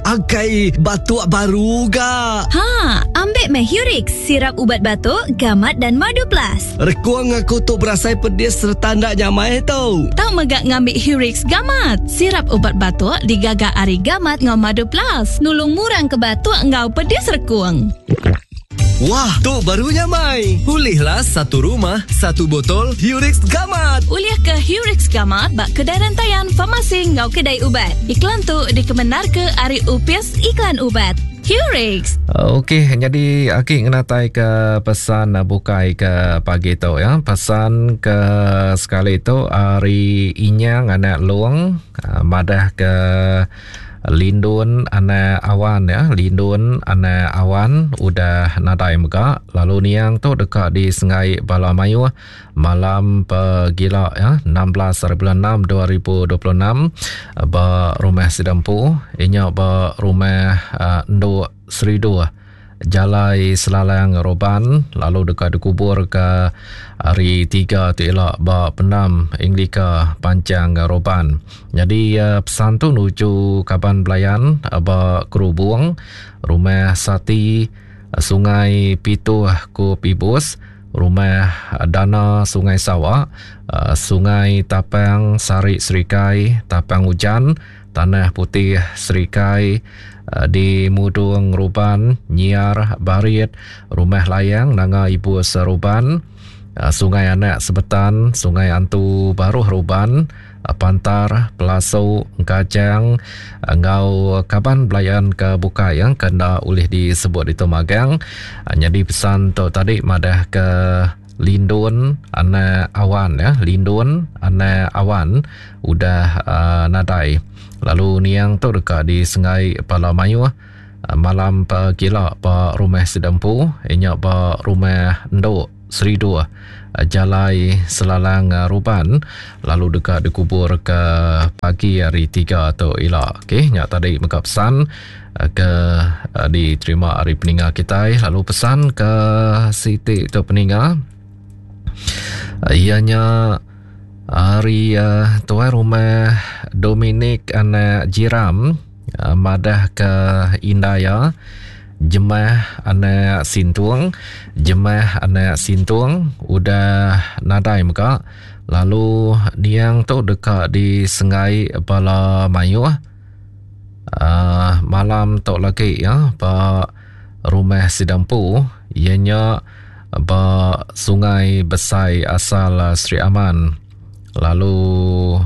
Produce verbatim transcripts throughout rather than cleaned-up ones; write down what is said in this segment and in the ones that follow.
Akai batuk baru ga. Ha, ambil meh Hurix, sirap ubat batuk, gamat dan madu plus. Rekuang aku tu berasai pedis serta ndak nyamai tau. Tau megak ngambil Hurix gamat. Sirap ubat batuk digaga ari gamat ngau madu plus. Nulung murang ke batuk ngau pedis rekuang. Wah, tu baru nyamai. Ulihlah satu rumah, satu botol Hurix Gamat. Ulih ke Hurix Gamat bak kedai rantaian farmasi ngau kedai ubat. Iklan tu dikemenar ke ari Upis Iklan Ubat. Hurix. Okey, jadi aki ngenatai ke pesan bukai ke pagi tu ya. Pesan ke sekali tu ari Inyang anak Long madah ke Lindun anak awan ya, Lindun anak awan udah nadai mega, lalu niang tu dekat di Sengai Bala Mayuh malam pegila ya, enam belas hari bulan enam dua ribu dua puluh enam ba rumah Sidampu, inya ba rumah uh, Enduk Seridu Jalai Selalang Roban, lalu dekat dikubur ke hari tiga tu elok ba Penam Anglika Panjang Roban. Jadi uh, pesan tu nuju kaban belayan uh, ba Kerubung, Rumah Sati Sungai Pituh Ku Pibus, Rumah Dana Sungai Sawak, uh, Sungai Tapang Sari Serikai, Tapang Ujan, Tanah Putih Serikai, di Mudung Ruban, Nyiar Barit, Rumah Layang Nanga Ibu Seruban, Sungai Anak Sebetan, Sungai Antu Baruh Ruban, Pantar, Pelasu, Kajang, ngau kaban belayan ke bukai yang kena ulih disebut itu magang. Jadi pesan tu tadi madah ke Lindun anak awan ya, Lindun anak awan udah uh, nadai. Lalu niang tu dekat di Sengai Pala Mayuh malam pegila ba rumah Sidampu, inya ba rumah Enduk Seridu Jalai Selalang Ruban, lalu dekat dikubur ke pagi hari tiga tu ila. Okey, nya tadi mega pesan ke diterima hari peninga kita. Lalu pesan ke Siti tu peninga ianya hari uh, tuan rumah Dominic anak Jiram, uh, madah ke Indaya Jemah anak Sintung, Jemah anak Sintung udah nadai mega, lalu niang tu dekat di Sengai Bala Mayuh uh, malam tu lagi ya ba rumah Sidampu, ianya ba Sungai Besai asal Sri Aman, lalu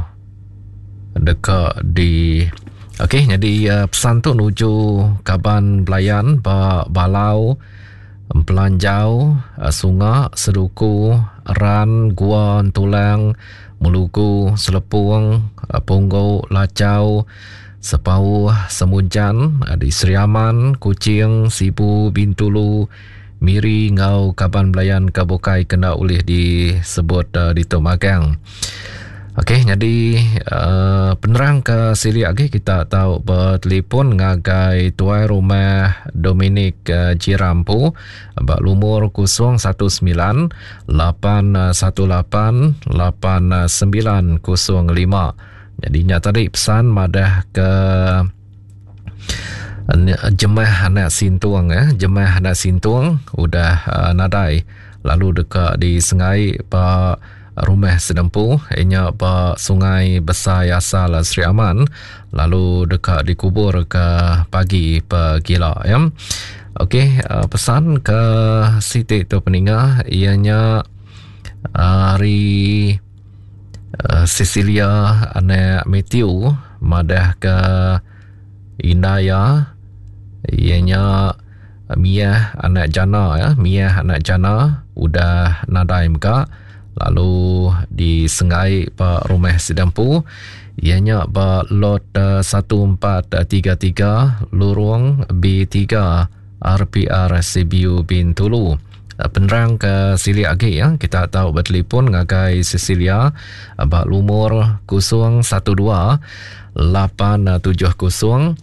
dekat di okey. Jadi uh, pesan tu nuju kaban belayan ba Balau, Pelanjau, uh, Sunga, Seduku, Ran, Gua, Tulang, Melugu, Selepung, uh, Punggu, Lacau, Sepauh, Semunjan, uh, di Sri Aman, Kuching, Sibu, Bintulu, Miri ngau kaban belayan ke bukai kena ulih disebut uh, di tu magang. Okey, jadi uh, penerang ke siri lagi kita tahu bertelefon ngagai tuai rumah Dominic uh, Jirampu bak lumur kosong satu sembilan lapan satu lapan lapan sembilan kosong lima. Jadi nya tadi pesan madah ke Jemah anak Sintung eh, Jemah anak Sintung udah uh, nadai, lalu dekat di Sengai ba rumah Sedempu, inya ba Sungai Besai asal Sri Aman, lalu dekat dikubur ke pagi pegila ya. Okey, uh, pesan ke Siti tu peninga ianya hari uh, Cecilia anak Matthew madah ke Indaya ianya Mia anak Jana ya, Mia anak Jana udah nadai mega, lalu di Sengai ba rumah Sidampu, ianya ba lot satu empat tiga tiga lorong B tiga R P R C B U Bintulu. Penerang ke silik lagi ya, kita tahu bertelefon ngagai Cecilia ba lumur kosong satu dua lapan tujuh kosong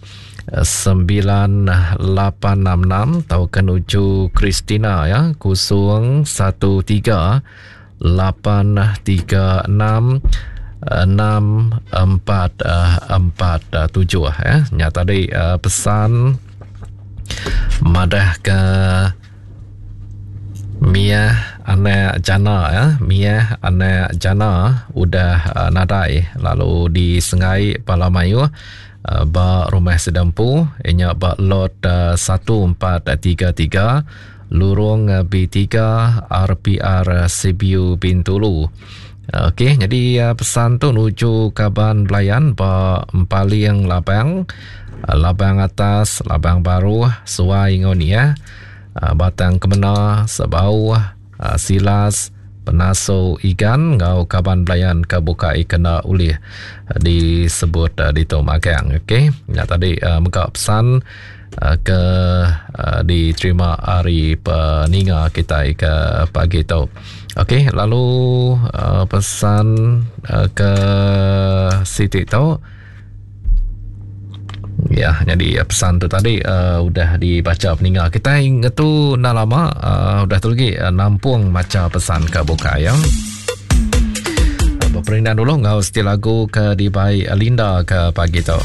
sembilan lapan enam enam atau menuju Christina ya, kosong satu tiga lapan tiga enam enam empat empat tujuh ya. Nya tadi pesan madah ke Mia anak Jana ya, Mia anak Jana udah uh, nadai lalu di Sengai Palamayuh uh, ba rumah sedempu inya ba lot uh, satu empat tiga tiga lurung B tiga R P R Sibiu Bintulu. Okey, jadi uh, pesan tu nuju kaban belayan ba Empaling Labang, Labang Atas, Labang Baru, Suai ngau ni ya. Batang Kemena, Sebau, Silas, Penaso Igan ngau kaban belayan ke bukai kena ulih disebut di tu magang. Okey, ya tadi uh, mega pesan uh, ke uh, diterima hari peninga kita ke pagi tu. Okey, lalu uh, pesan uh, ke Siti tu. Ya, jadi pesan tu tadi uh, udah dibaca peninga. Kita ingat tu dah lama uh, udah tu lagi uh, nampung baca pesan ke buka ya. Berperindan dulu ngau setia lagu ke dibai Linda ke pagi tu.